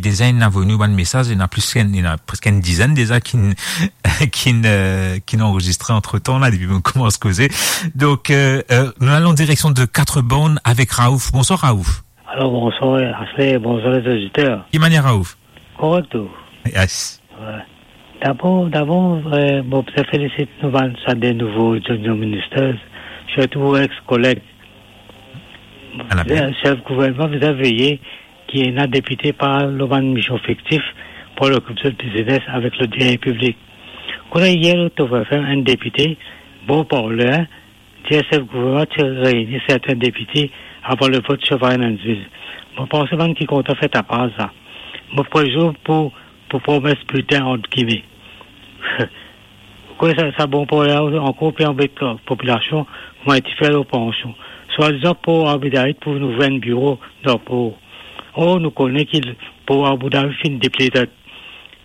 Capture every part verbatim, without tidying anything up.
Deza inn avoy nou bann mesaz, ena plis ki enn, ena preske enn dizenn deza ki'nn, ki'nn, euh, ki'nn anrezistre antretan la, depi nou koumans koze. Donk, euh, euh, nou al an direksion de Quatre Bornes avek Raouf. Bonswar, Raouf. Alor, bonswar, Ashley, bonswar, lezoditer. Ki manier, Raouf? Korek, tou. Yes. Wi. Dabor, dabor, euh, mo bizin felisit nou bann sa de nouvo junior ministers, sirtou ex-koleg. Ena bien. Sef gouvernman bizin veye ki ena depite pa lor bann mision fiktif pou al okip zot biznes avek lodien piblik. Kouma yer, Top F M, enn depite, bon parler, dir sef gouvernman ti reyini sertin depite avan lavot Chevalier Nashville. Mo panse bann ki kontan fer tapaz la. Mo prezir pou, pou promes bilten, ant gime. Kouma sa, sa bon parler la ankor pe anbet popilasion, kouma li ti fer lor pansion. Swadizan Port Arbour David pou nou ouvrir enn biro dan por. Or, nou kone ki Port Arbour David finn deplete.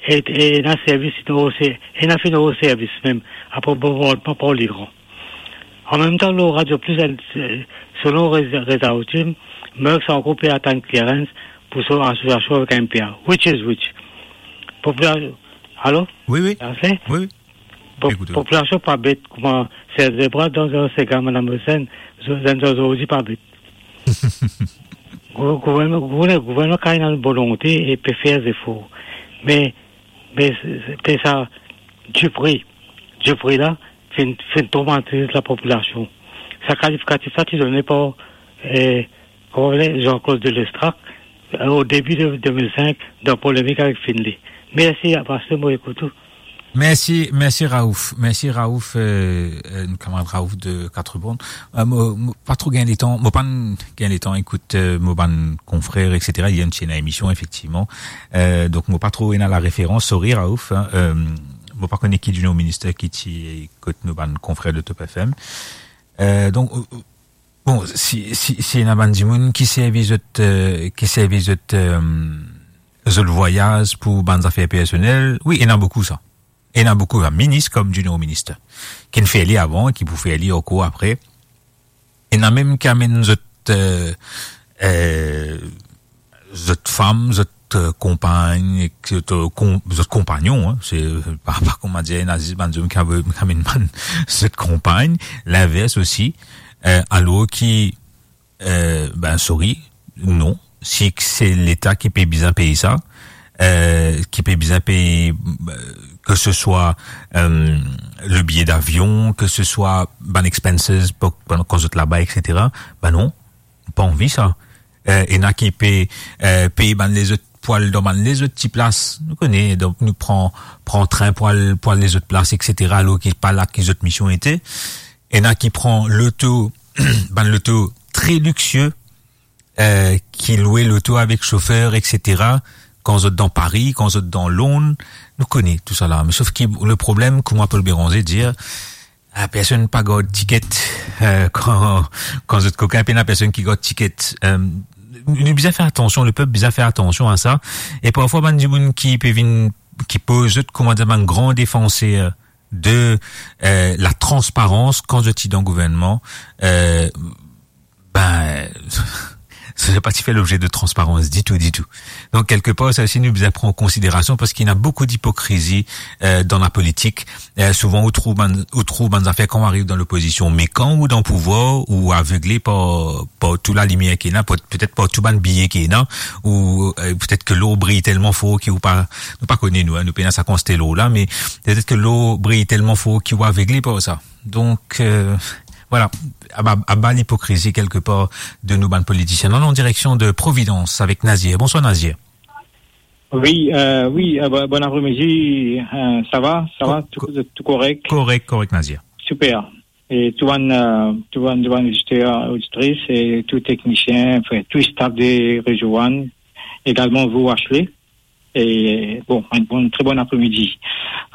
E, e ena servis, ena finn rod servis mem, apre bonbardman par Liran. Anmemtan, lor Radio Plus, selon Reza, Reza Hatim, Merckx ankor pe atann clearance pou so asosiasion avek M P A. Which is which? Popula-, alo? Wi, wi. Sa se? Wi, wi. Po-, Ekout, wi. Popilasion pa bet kouma Serge Lebras, dan, dan se ka Madam Le Pen, zenn zordi pa bet. Gou-, gouvernman, gouvernman, gouvernman kan ena volonte e pe fer zefor. Me, me se, se, pe sa, Dupré, Dupré la, finn, finn tromatiz lapopilasion. Sa kalifikatif la ti done par, eh, kouma apele, Jean-Claude Delestrac, eh, o debi de de mil senk, dan polemik avek Finlay. Mersi, Pasteur, mo ekout ou. Mersi, mersi Raouf. Mersi Raouf, euh, euh, nou kamarad Raouf de Quatre Bornes. Euh, mo, mo pa tro gagn letan, mo pa'nn gagn letan ekout, euh, mo bann konfrer, et cetera. Yer ti ena emision, efektivman. Euh, donk, mo pa tro ena lareferans, sorry Raouf, hein. Euh, mo pa kone ki dimoun minister ki ti kot nou bann konfrer de Top F M. Euh, donk, euh, Bon, si, si, si ena bann dimoun ki servi zot, euh, ki servi zot, euh, zot vwayaz pou bann zafer personel, wi, ena boukou sa. Ena boukou, minis kom junior minister, ki'nn fer li avan, ki pou fer li ankor apre. Ena mem ki amenn zot, euh, euh, zot fam, zot, euh, konpagn, ek zot, euh, kon-, zot konpagnon, hein, se, euh, pa, pa kouma dir, ena zis bann zom ki ave-, ki amenn bann zot konpagn, linvers osi, euh, alor ki, euh, ben, sorry, non, si se Leta ki pe bizin pey sa, euh, ki pe bizin pey, euh, ke se swa, euh, le biye davion, ke se swa bann expenses pou, pou, kan zot laba, et cetera, ben non, pa anvi sa. Eh, ena ki pe, eh, pey bann lezot pou al dan bann lezot ti plas. Nou kone, donk nou pran, pran trin pou al, pou al lezot plas, et cetera, alor ki pa la ki zot mision ete. Ena ki pran loto, bann loto tre liksie, eh, ki lwe loto avek sofer, et cetera, kan zot dan Pari, kan zot dan Lond, nou kone tousala. Me sof ki le problem, kouma Paul Bérenger dir, Ah, personn pa gard tiket, euh, kan, kan zot kokin, pena personn ki gard tiket. Euh, nou bizin fer atansion, lepep bizin fer atansion a sa. E parfwa, bann dimoun ki pe vinn, ki poz zot kouma bann gran defanser de, euh, latransparans kan zot ti dan gouvernman, euh, ben, sa pa ti fer lobze de transparans ditou, ditou. Donk, kelkepar, sa osi, nou bizin pran an konsiderasion, parski ena boukou dipokrizi, euh, dan lapolitik. Euh, souvan, ou trouv bann, ou trouv bann zafer kan ou ariv dan lopozision, me kan ou dan pouvwar, ou avegle par, par tou lalimier ki ena, par, petet par tou bann biye ki ena, ou, euh, petet ke lor briy telman for ki ou pa, nou pa kone nou, hein, nou pena sa kantite lor la, me petet ke lor briy telman for ki ou avegle par sa. Donk, euh, vwala, aba, aba lipokrizi kelkepar de nou bann politisien. Nou al an direksion de Providence avek Nazir. Bonswar Nazir. Wi, euh, wi, euh, bo-, bon apremidi, euh, sa va, sa va, tou, tou korek? Korek, korek Nazir. Super. E tou bann, euh, tou bann, tou bann oditer, oditris, e tou teknisien, anfin, tou staf de Rezo One, egalman vou Ashley. E, bon, enn bon, tre bon apremidi.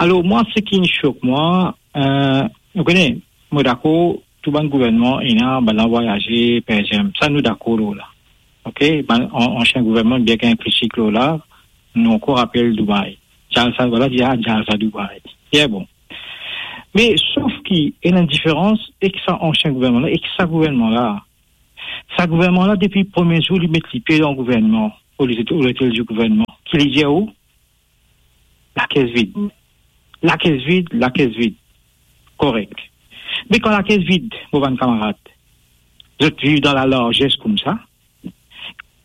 Alor, mwa, seki inn sok mwa, euh, ou kone, mo dakor, tou bann gouvernman ena, bannla vwayaze, per exanp. Sa nou dakor lor la. Ok? Bann an-, ansien gouvernman, bien ki ena kritik lor la, nou ankor rapel Dubai. Jalsa, vwala, dir, ah, Jalsa Dubai. Bien bon. Me sof ki ena enn diferans ek sa ansien gouvernman la, ek sa gouvernman la. Sa gouvernman la, depi premie zour li met lipie dan gouvernman, o lete-, o lotel di gouvernman, ki li dir ou, lakes vid. Lakes vid, lakes vid. Korek. Me kan lakes vid, mo bann kamarad, zot viv dan lalarzes koumsa,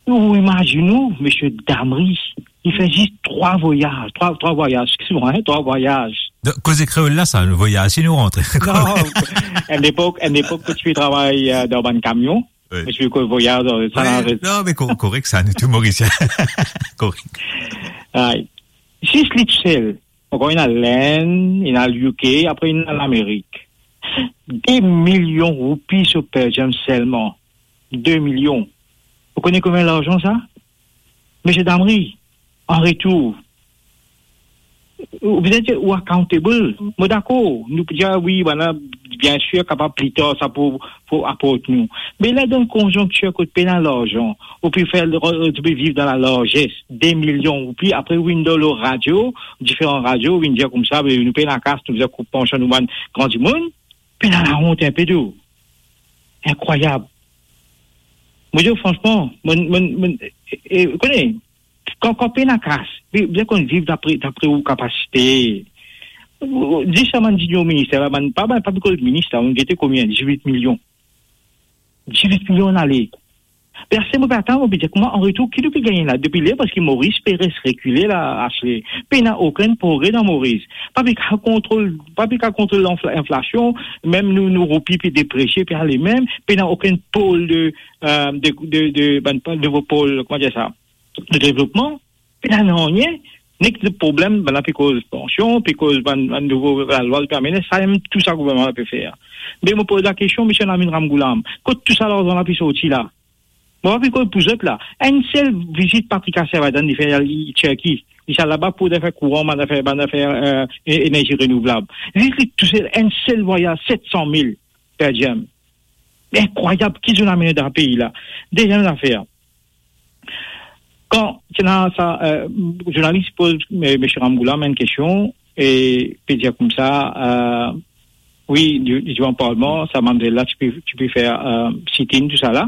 ou imazinn ou, misie Damri, li fer zis trwa vwayaz, trwa, trwa vwayaz, exkiz mwa, hein, trwa vwayaz. Donk, koze kreol la, sa, vwayaz, si nou rantre. Non, enn lepok, enn lepok, kot ti pe travay, euh, dan bann kamion, Wi. Mo ti pe koz vwayaz, euh, sa, wi, non, me ko-, korek sa, nou tou Morisien. Korek. Ay. Zis li tousel. Ankor, ena Lenn, ena le U K, apre ena Lamerik. De milion roupi so per diem selman. De milion. Ou kone konbien larzan sa? Misie Damri, an retour, ou bizin dir ou accountable. Mo dakor, nou pou dir, "Ah wi, bann la, biensir, kapav pli tar, sa pou, pou aport nou." Me la, dan konzonktir kot pena larzan, ou pe fer, ou pe viv dan lalarzes, de milion roupi, apre ou vinn dan lor radio, diferan radio, ou vinn dir koumsa, "Be nou pena kas, nou bizin koup pansion nou bann gran dimoun." Pena laont inpe tou. Inkrwayab. Mo dir, fransman, mo, mo, mo, e, e, kone, kan, kan pena kas, be, bizin konn viv dapre, dapre ou kapasite. Dis sa bann dirian minister la, bann, pa, pa, pa pe koz minis la, ou gete konbien, dizwit milion. Dizwit milion ale. Personn pa atann, mo pe dir, kouma an retour, ki nou pe gagne la? Depi ler, parski Moris pe res rekile la, Ashley. Pena okenn progre dan Moris. Pa pe kapav kontrol, pa pe kapav kontrol lanfla-, inflasion, mem nou, nou roupi pe depresie, pe ale mem, pena okenn pol de, euh, de, de, de, bann, bann nouvo pol, kouma dir sa, de devlopman, pena nanye, nek de problem, bann la pe koz pansion, pe koz bann, bann nouvo lalwa, pe amene, sa mem tou sa gouvernman la pe fer. Me mo poz lakestion, misie Namenram Ghulam, kot tou sa larzan la pe sorti la? Mo pa pe koz pou zot la. Enn sel vizit Patrick Assevadan li fer, li Tirki. Li ti al laba pou zafer kouran, bann zafer, bann zafer, euh, e-, enerzi renouvlab. Zis li tousel, enn sel vwayaz, set san mil per diem. Inkrwayab, ki zot amenn dan pei la? Deziem zafer, kan ti ena sa, euh, zournalis poz, euh, misie Ram Ghulam enn kestion, e pe dir koumsa, euh, wi, di-, divan parlman, sa mamzel la, ti pe, ti pe fer, euh, sit-in, tou sa la,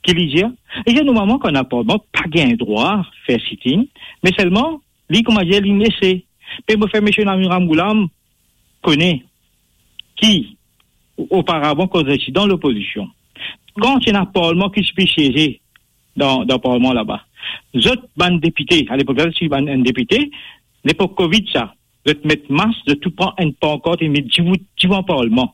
ki li dir, li dir, normalman, kan ena parlman, pa gagn drwa fer sit-in, me selman, li, kouma dir, li lese. Me mo fer misie Namenram Ghulam kone ki, oparavan, kan zot ti dan lopozision, kan ti ena parlman ki ti pe sieze dan, dan parlman laba, zot bann depite, alepok la, ti bann, enn depite, lepok Covid sa, zot met mas, zot tou pran enn pankart, e met dibout divan parlman.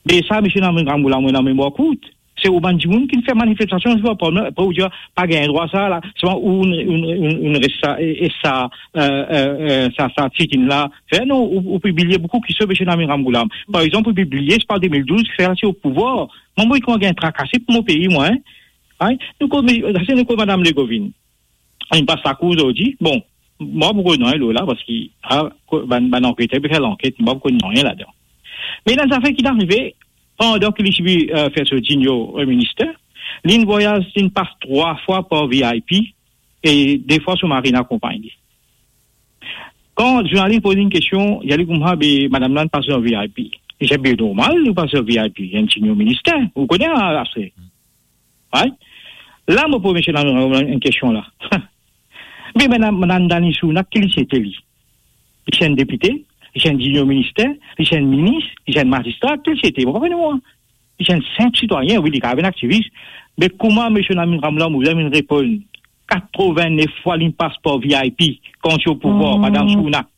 Me sa, misie Namenram Ghulam, mo ena memwar kourt. Se ou bann dimoun ki fer manifestasion, se pa problem. Apre ou dir, pa gagn drwa sa la, selman ou, ou, ou, ou res sa, e, e sa, euh, euh, euh, sa, sa sit-in la fer, non, ou, ou pibliye boukou ki so misie Namenram Ghulam. Par exanp, ou pibliye, se pa de mil douz, fer la ti o pouvwar. Mwa, mo kouma gagn trakase pou mo pei, mwa, hein. Ay, nou koz, nou koz Madam Legovigne. Inn pas lakour zordi. Bon, mwa, mo pa konn nanye lor la, parski, ah, ko-, bann, bann anketèr pe fer lanket, mwa, mo pa konn nanye ladan. Me ena enn zafer ki arive, pandan ki li ti pe, euh, fer so junior, euh, minister, linn vwayaz, linn pas trwa fwa par V I P, e de fwa so mari inn akonpagn li. Kan zournalis poz enn kestion, li dir li koumsa, be, madam la pas an V I P. Li dir, be, normal, li pas an V I P, enn junior minister, ou kone, ah, apre. Right? La, mo poz misie la enn kestion la. Me madam, madam Dany Sunak, ki li ti ete li? Li ti enn depite, li ti enn junior minister, li ti enn minis, li ti enn mazistra, ki li ti ete? Mo pa kone mwa. Li ti enn sinp sitwayin, wi, li kapav enn aktivis. Me kouma misie Namenram Ghulam, ou bizin reponn, katrovin-nef fwa linn pas par V I P, kan ti o pouvwar, madam Sunak.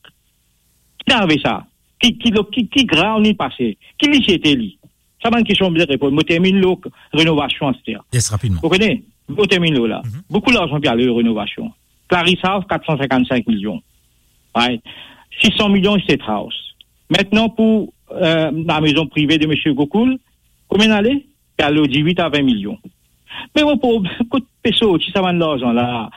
Ki arive sa? Ki, ki, ki, ki grav linn pase? Ki li ti ete li? Sa bann kestion bizin reponn. Mo terminn lor renovasion aster. Yes, rapidman. Ou kone, mo terminn lor la. Mhm. Boukou larzan pe al lor renovasion. Clarisse House, kat san sinkant-sink milion. Right. Sis san milion State House. Aster pou, euh, lamezon prive de misie Gokul, konbien ale? Pe al lor dizwit a vin milion. Me mo problem, kot pe sorti sa bann larzan la?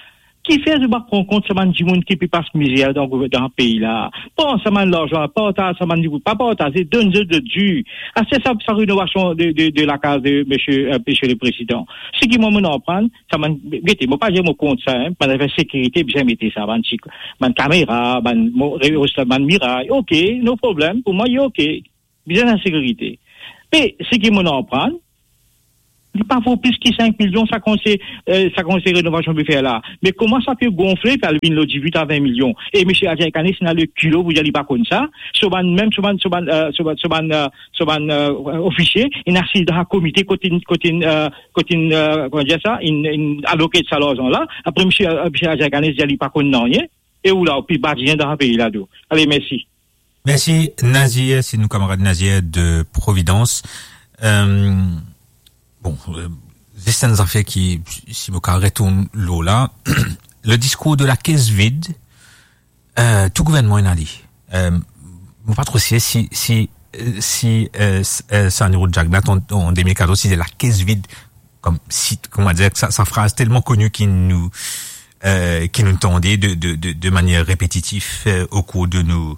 Kifer zot pa pran kont sa bann dimoun ki pe pas mizer dan gouver-, dan pei la? Pran sa bann larzan la, partaz sa bann dimoun, pa partaze, donn zot zot dir. Aster sa, sa renovasion de, de, de lakaz de misie, euh, misie le prezidan. Seki mwa, mo aprann, sa bann, gete, mo pa dir mo kont sa, hein, bann zafer sekirite, bizin mete sa, bann ti, bann kamera, bann mo-, re-, bann miray, ok, no problem, pou mwa, li ok. Bizin enn sekirite. Me seki mo aprann, Li pa vo plis ki sink milion, sa konsey, eh, sa konsey renovasion pe fer la. Me kouma sa pe gonfle, pe al vinn lor dizwit a vin milion? E misie Adjai Kanis ena lekilo pou dir li pa konn sa. So bann, mem so bann, so bann, eh, so bann, so bann, eh, so bann, eh, ofisie, inn asiz dan sa komite kot inn, kot inn, eh, kot inn, eh, kouma dir sa, inn, inn aloke sa larzan la. Apre misie, eh, misie Adjai Kanis dir li pa konn nanye. E ou la, ou pe badinenn dan sa pei la tou. Ale, mersi. Mersi, Nazir. Se nou kamarad Nazir de Providence. Eh, bon, eh, zis enn zafer ki, si mo kapav retourn lor la, le discours de la caisse vide, eh, tou gouvernman ena li. Eh, mo pa tro sir si, si, eh, si, eh, s-, eh, Sani Rood Jagannath an, an de mil katorz, si se la caisse vide, kom si, kouma dir, sa, sa fraz telman koni ki nou, eh, ki nou tande de, de, de, de manier repetitif, eh, o kour de nou,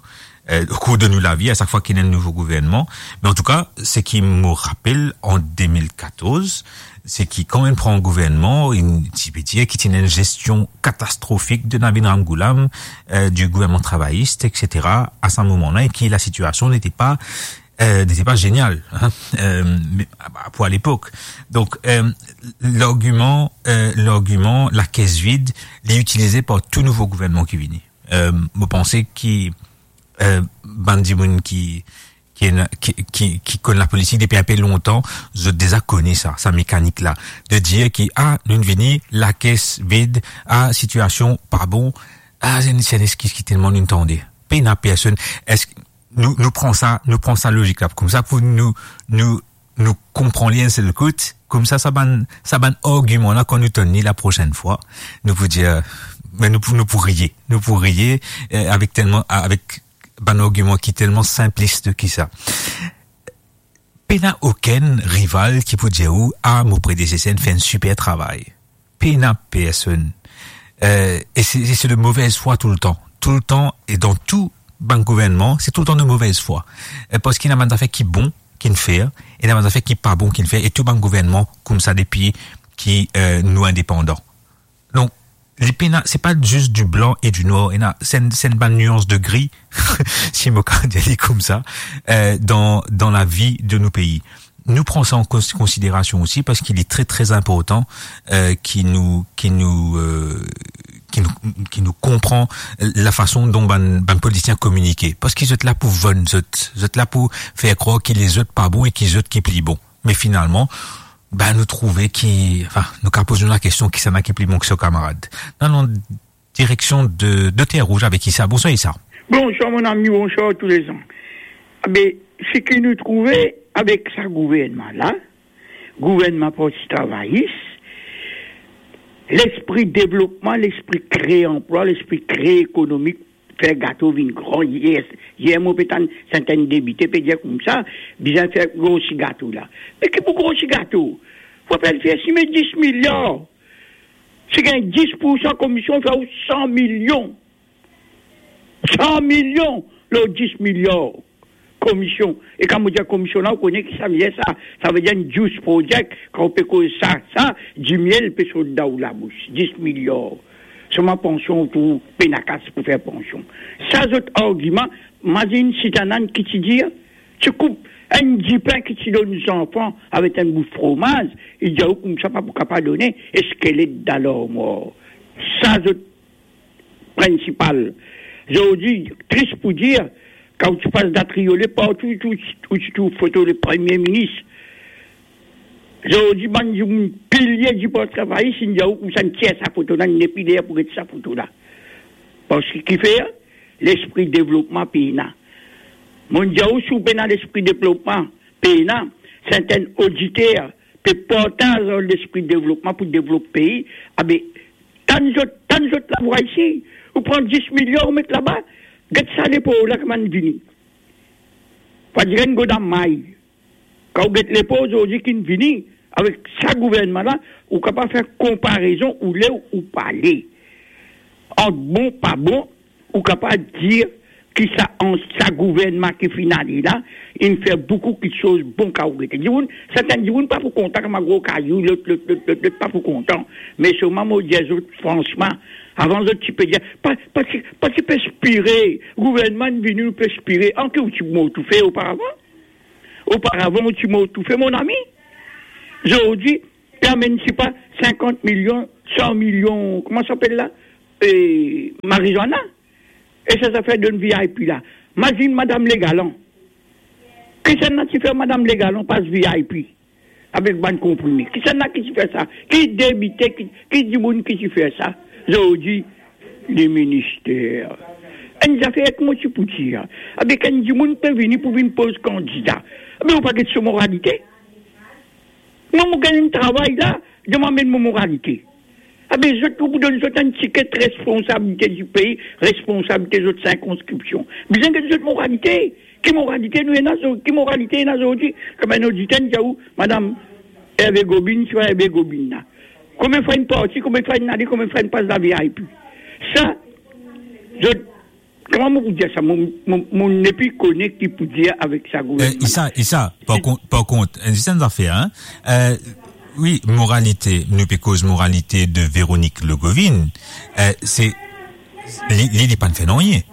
eh, o kour de nou lavi, a sak fwa ki ena enn nouvo gouvernman. Me antouka, seki mo rapel an de mil katorz, seki kan inn pran gouvernman, inn, ti pe dir ki ti ena enn gestion katastrofik de Navin Ramgoolam, eh, di gouvernman travayis, et cetera, a sa moman la, e ki la sitiasion n'était pas, eh, n'était pas géniale, hein, eh, me, pou alepok. Donk, eh, largiman, eh, largiman la caisse vide, li itilize par tou nouvo gouvernman ki vini. Eh, mo panse ki, eh, bann dimoun ki, ki ena, ki, ki, ki konn lapolitik depi inpe lontan, zot deza kone sa, sa mekanik la. De dir ki, ah, nou vini, la caisse vide, ah, sitiasion pa bon, ah, se enn, se enn exkiz ki telman nou tande. Pena personn, eski nou, nou pran sa, nou pran sa lozik la koumsa pou nou, nou, nou konpran li enn sel kout, koumsa sa bann, sa bann argiman la, kan nou tann li laprosenn fwa, nou pou dir, me nou pou, nou pou riye, nou pou riye, eh, avek telman, avek bann argiman ki telman sinplis ki sa. Pena okenn rival ki pou dir ou, ah, mo predeseser inn fer enn siper travay. Pena personn. Eh, e se, e se de movez fwa toultan. Toultan, e dan tou bann gouvernman, se toultan de movez fwa. Eh, parski ena bann zafer ki bon ki'nn fer, e ena bann zafer ki pa bon ki'nn fer, e tou bann gouvernman koumsa depi ki, eh, nou indepandan. Donk, li pena, se pa zis du blanc et du noir, ena, se enn, se enn bann nuans de gri, si mo kapav dir li koumsa, eh, dan, dan lavi de nou pei. Nou pran sa an kons-, konsiderasion osi, parski li tre, tre inportan, eh, ki nou, ki nou, eh, ki nou, ki nou konpran lafason dont bann, bann politisien kominike. Parski zot la pou vann zot, zot la pou fer krwar ki lezot pa bon e ki zot ki pli bon. Me finalman, ben, nou trouve ki, anfin, nou kapav poz nou lakestion, kisannla ki pli bon ki so kamarad? Non, non, direksion de, de Terre Rouge avek Issa. Bonswar, Issa. Bonswar, mon ami, bonswar tou lezan. Be, seki nou trouve avek sa gouvernman la, gouvernman Parti Travayis, lespri devlopman, lespri kree anplwa, lespri kree ekonomi, fer gato vinn gran. Yer, yer mo pe tann sertin depite pe dir koumsa, bizin fer grosi gato la. Me ki pou grosi gato? Fode fer sime dis miliar. Si gagn dis poursan komision, fer ou san milion. San milion lor dis miliar komision. E kan mo dir komision la, ou kone ki sa vedir sa? Sa vedir enn juice project, kan ou pe koz sa, sa, dimiel pe sot dan ou labous. Dis miliar. Selman pansion, ou trouv pena kas pou fer pansion. Sa zot argiman, mazinn Sitanann ki ti dir, ti koup enn dipin ki ti donn zanfan avek enn bout fromaz, li dir ou koumsa pa pou kapav done, eskelet dan larmwar. Sa zot prinsipal. Zordi, tris pou dir, kan ou ti pas dan Triolet, partou, tou, ou ti trouv foto le Premie Minis. Zordi, bann dimoun pilie di Parti Travayis, inn dir ou koumsa inn tir sa foto la, inn nepli ler pou get sa foto la. Parski kifer? Lespri devlopman pena. Mo dir ou, si ou pena lespri devlopman pena, sertin oditer pe partaz ar lespri devlopman pou devlop pei, abe, tann zot, tann zot lavwa isi, ou pran dis milion, ou met laba, get sa lepor la kouma inn vini. Fode dir enn goda may. Kan ou get lepor zordi ki'nn vini, avek sa gouvernman la, ou kapav fer konparezon, ou le ou pa le. Ant bon, pa bon, ou kapav dir ki sa an, sa gouvernman ki finn ale la, inn fer boukou kiksoz bon kan ou gete. Dimoun, sertin dimoun pa pou kontan kouma gro kayou, lot, lot, lot, lot, lot pa pou kontan. Me selman mo dir zot fransman, avan zot ti pe dir, pa, pa ti, pa ti pe espere, gouvernman vini, ou pe espere, an ki ou ti mor toufe oparavan? Oparavan, ou ti mor toufe, mon ami. Zordi, pe amenn, sepa, sinkant milion, san milion, kouma sa apel la? E, marijuana. E sa zafer donn VIP la. Mazinn Madam Legalan. Kisannla ti fer Madam Legalan pas VIP avek bann konprime? Kisannla ki ti fer sa? Ki depite, ki, ki dimoun ki ti fer sa? Zordi, leminister. Enn zafer ki mo ti pou dir. Avek enn dimoun pe vini pou vinn poz kandida. Me ou pa get so moralite. Mwa, mo gagn enn travay la, dan mo amenn mo moralite. Abe, zot, pou donn zot enn tiket responsabilite di pei, responsabilite zot sirkonskripsion. Bizin get zot moralite. Ki moralite nou ena zor-, ki moralite ena zordi? Kouma enn oditer dir ou, madam Hervé Gobin, ti vwa Hervé Gobin la. Konbien fwa inn parti, konbien fwa inn ale, konbien fwa inn pas dan VIP? Sa, zot Kouma mo pou dir sa? Mo, mo, mo nepli kone ki pou dir avek sa gouvernman. Eh, Issa, Issa, par kont, par kont, eh, zis enn zafer, hein. Eh, wi, moralite, nou pe koz moralite de Véronique Le Goovin. Eh, se, li, li, li pa'nn fer nanye.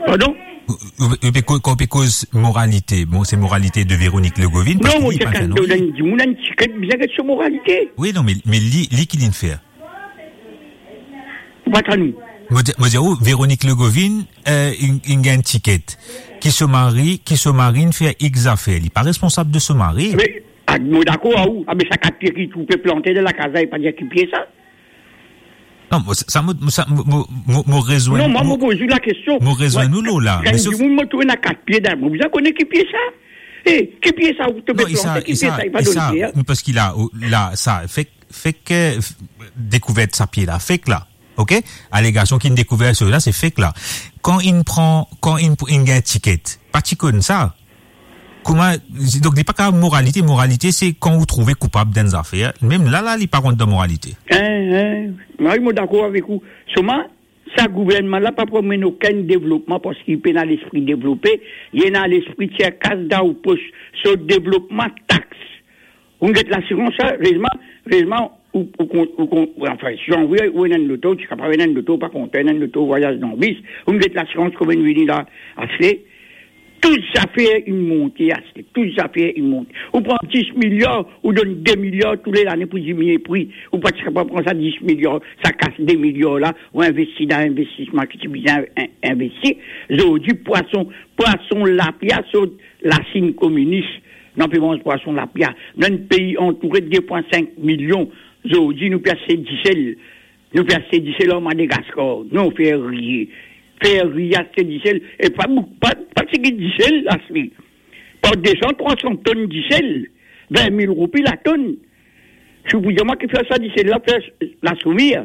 Pardon? Ou, ou, ou pe ko-, kan ou pe koz moralite, bon, se moralite de Véronique Le Goovin, parski li pa'nn fer nanye. Non, mo dir kan dimoun ena enn tiket, bizin get so moralite. Wi, non, me, me li, li ki li'nn fer? Ou pa tann ou? Mo dir, mo dir ou, Véronique Le Goovin, eh, inn, inn gagn tiket. Ki so mari, ki so mari inn fer X zafer. Li pa responsab de so mari. Me, ah, mo dakor ar ou. Abe, sa kat pie ki trouve plante dan lakaz la, e pa dir ki pie sa. Non, mo, sa, mo, mo, sa, mo, mo, mo, mo rezwenn, Non, mwa, mo, mo poz ou lakestion. Mo rezwenn ou lor la, Mwa, me kan sof dimoun mo trouve ena kat pie dan, mo bizin kone ki pie sa. Eh, ki pie sa ou trouve plante, ki pie sa, e pa donn pie, hein? Non, Issa, Issa, non, parski la, ou, la, sa, fek, fek, eh, f-, dekouver sa pie la, fek la, ok? Alegasion ki'nn dekouver sa la, se fek la. Kan inn pran, kan inn, inn gagn tiket, pa ti konn sa. Kouma, donk, li pa kapav moralite, moralite, se kan ou trouve koupab dan enn zafer, mem la, la, li pa rant dan moralite. Hein, hein. Mwa, mo dakor avek ou. Selman, sa gouvernman la pa pou amenn okenn devlopman parski li pena lespri devlope, li ena lespri tir kas dan ou pos. So devlopman, tax. Ou get lasirans, sa, rezman, rezman, ou, ou kon-, ou kon-, ou, anfin, si ou anvi ou ena enn loto, ou ti kapav ena enn loto, pa kontan ena enn loto, vwayaz dan bis, ou get lasirans kouma inn vini la, aste, tou zafer inn monte, aste, tou zafer inn monte. Ou pran dis miliar, ou donn de miliar toule lane pou diminie pri. Ou pa ti kapav pran sa dis miliar, sa kas de miliar la, ou investi dan investisman ki ti bizin in-, investi. Zordi, pwason, pwason lapia sort Lasinn kominis, nou pe manz pwason lapia. Nou enn pei antoure de pwin sink milion. Zordi, nou pe aste disel. Nou pe aste disel ar Madagaskar. Non, fer riye. Fer riye, aste disel. E pa bou-, pa, pa tigit disel, aste. Par de san, trwa san tonn disel. Vin mil roupi latonn. Si ou pou dir mwa ki fer sa disel la, fer la soumir.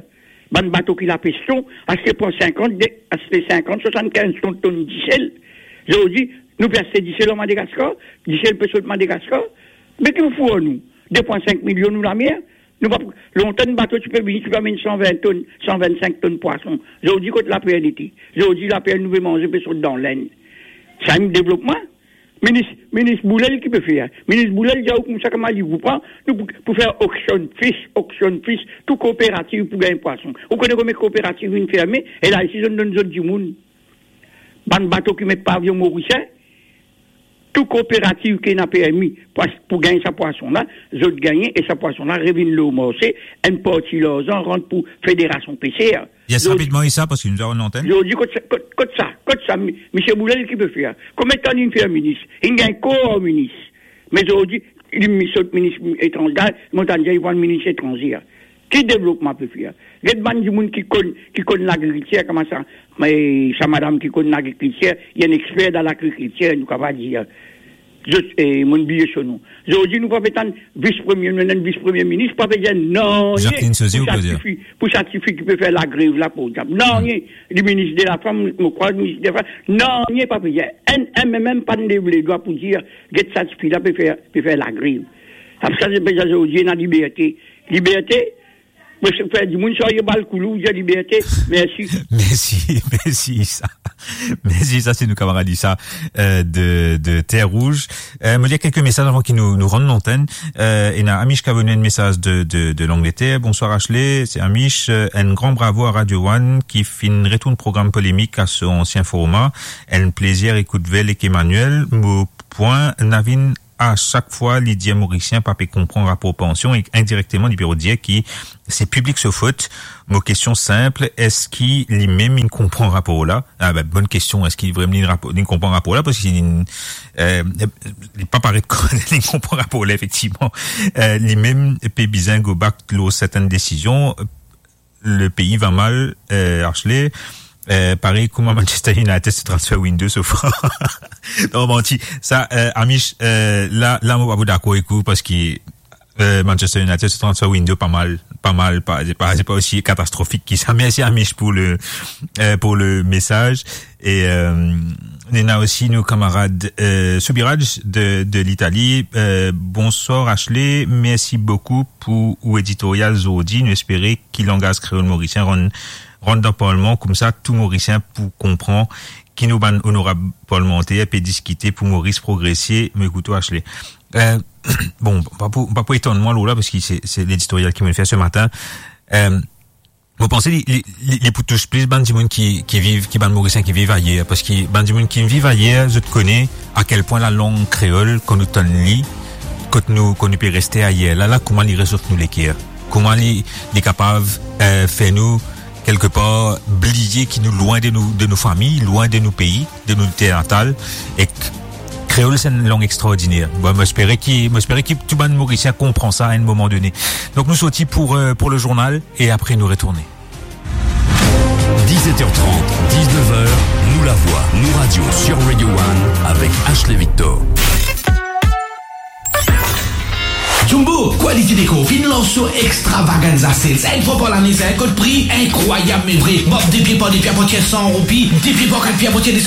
Bann bato ki lapes ton, aste pran sinkant, de, aste sinkant, swasannkinz tonn, tonn disel. Zordi, nou pe aste disel an Madagaskar, disel pe sot Madagaskar. Me ki pou fer nou? De pwin sink milion nou lamer, nou pa, lontan enn bato ti pe vini, ti pe amenn san vin tonn, san vinn sink tonn pwason. Zordi kot laper li ete? Zordi laper nou pe manze pe sot dan Lenn. Sa enn devlopman? Minis, minis Boulel ki pe fer? Minis Boulel dir ou koumsa, kouma li pou pran, nou pou, pou fer auction fish, auction fish, tou kooperativ pou gagn pwason. Ou kone konbien kooperativ inn ferme? E la isi, zot donn zot dimoun. Bann bato ki met pavion morisien, tou kooperativ ki ena permi pou as-, pou gagn sa pwason la, zot gagne, e sa pwason la revinn lor marse, enn parti larzan rant pou Federasion Peser. Yes, zordi, rapidman, Issa, parski nou avem lantenn. Zordi, kot sa, kot, kot sa, kot sa, mi-, misie Boulel ki pe fer? Konbien tan linn fer minis? Linn gagn kor minis. Me zordi, li mi-, sot minis etranze, mo tann dir li pran minis etranze. Ki devlopman pe fer? Get bann dimoun ki konn, ki konn lagrikiltir, kouma sa, me sa madam ki konn lagrikiltir, li enn exper dan lagrikiltir, nou kapav dir. Zot, eh, monn bliye so non. Zordi nou pa pe tann vis premie, nou ena vis premie minis, pa pe dir nanye. Jacqueline Sosie, pou sa tifi, pou sa tifi ki pe fer lagrev la, pou diab. Nanye. Hmm. Li minis de lafam, mo krwar, minis de lafam. Nanye pa pe dir. Enn, enn, mem, mem pa'nn lev ledwa pou dir, get sa tifi la pe fer, pe fer lagrev. Apre sa, se pe dir zordi ena liberte. Liberte, Mo fer dimoun sarye bal koulou, dir liberte. Mersi. Mersi, mersi, Issa. Mersi, Issa, se nou kamarad Issa, euh, de, de Terre Rouge. Euh, mo lir kelke mesaz avan ki nou, nou rann lantenn. Euh, ena Amish ki avoy nou enn mesaz de, de, de Langleter. Bonsoir, Ashley, se Amish. Euh, enn gran bravo a Radio One ki finn retourn program Polemik a so ansien forma. Enn plezir ekout Vel ek Emmanuel. Mo pwin, Navin a sak fwa li dir Morisien pa pe konpran rapor pansion, e indirekteman li pe dir ki se piblik so fot. Mo kestion sinp, eski li mem inn konpran rapor la? Ah, ben, bonn kestion, eski li vremem inn rapo-, inn konpran rapor la? Parski li, eh, li pa paret li konpran rapor la, efektivman. Eh, li mem pe bizin go back lor sertenn desizion. Le pays va mal, eh, Ashley. Eh, parey kouma Manchester United se transfer window so far. Non, manti. Sa, eh, Amish, eh, la, la, mo pa pou dakor ek ou, parski, eh, Manchester United se transfer window pa mal, pa mal, pa, se pa, se pa osi katastrofik ki sa. Mersi, Amish, pou le, eh, pou le mesaz. E, eh, nou ena osi nou kamarad, eh, Soubiraj de, de Litali. Eh, bonswar, Ashley. Mersi boukou pou ou editorial zordi. Nou espere ki langaz kreol morisien rann, rann dan parlman, koumsa tou Morisien pou konpran ki nou bann onorab parlmanter pe diskite pou Moris progrese. Mo ekout ou, Ashley. Eh, bon, pa pou, pa pou etann mwa lor la, parski se, se leditorial ki mo fer se matin. Eh, mo panse li, li, li, li pou tous plis bann dimoun ki, ki viv, ki bann Morisien ki viv ayer, parski bann dimoun ki viv ayer, zot kone a kel pwin lalang kreol, kan nou tann li, kot nou, kan nou pe reste ayer, la, la, kouma li rezof nou leker, kouma li, li kapav, eh, fer nou, kelkepar, bliye ki nou lwin de nou, de nou fami, lwin de nou pei, de nou ter natal, ek kreol se enn lang extraordiner. Bon, mo espere ki, mo espere ki tou bann Morisien konpran sa a enn moman done. Donk nou sorti pou, eh, pou le journal e apre nou retourne. Dix-sept heures trente, dix-neuf heures, Nou Lavwa, Nou Radio sur Radio One avec Ashley Victor. Jumbo, quality déco, finn lans so extravaganza sales. Enn fwa par lane, sa enn kot pri inkrwayab, me vre. Mab de pie par de pie, apatir san roupi, de pie par kat pie, apatir de